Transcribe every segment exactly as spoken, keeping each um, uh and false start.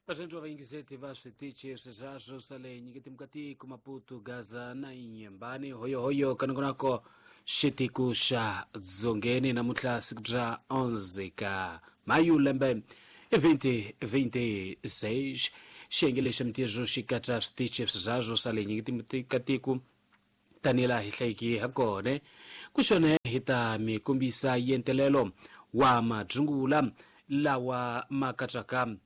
Vatsandzi va vayingiseti va switichi sweswo swa le nyiketimukatiko Maputo, Gaza na Inhambane, hoyohoyo kanongonako xitiku xa Dzongeni. Namuntlha siku bya onze ka Mayu lembe twenty twenty-six. Xiyenge lexi mintirho xi katsa switichi sweswo swa le nyiketimukatiko tanihi laha hi hlayiki ha kona. Ku xona hi ta mi kombisa yentelelo wa madzungula lawa ma katsaka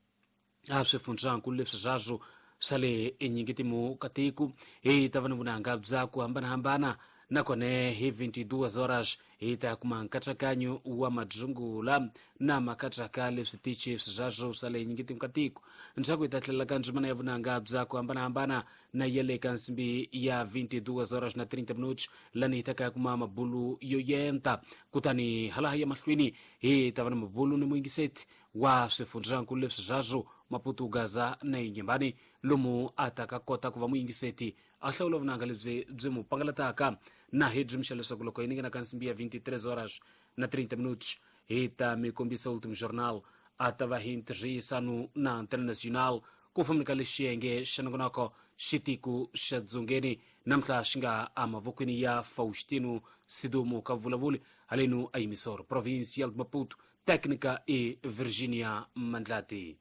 a swifundzankulu leswi swaswo swa le enyingitimukatiko. Hi ta va ni vunanga bya ku hambanahambana, nakona hi twenty-two horas hi ta kuma nkatsakanyo wa madzungula na makatsaka leswi tichi sweswo swa le nyingitimukatiko. Ndzhaku hi ta tlhelela ka ndzimana ya vunanga bya ku hambanahambana na ya le ka nsimbi ya twenty-two horas na thirty minutos, lani hi ta ka kuma mabulu yo yenta. Kutani halaha ya mahlweni hi ta va na mabulu ni muyingiseti wa swifundzankulu leswi swaswo Maputo, Gaza na Inhambane, lomu a ta ka kota ku va muyingiseti a hlawula vunanga lebyi byi mu pangalataka. Na hi byi mixa leswaku loko hi ninghena ka nsimbi ya twenty-three horas na thirty minutos hi ta mi kombisa Ultimo Jornal, a ta va hi ntirhisano na Antena Nacional ku fambeni ka lexiyenge xa nongonoko xitiku xa Dzongeni namuntlha xi nga emavokweni ya Faustino Sidumo ka vulavuli haleno a Emissora Provincial de Maputo, técnica e Virginia Mandlati.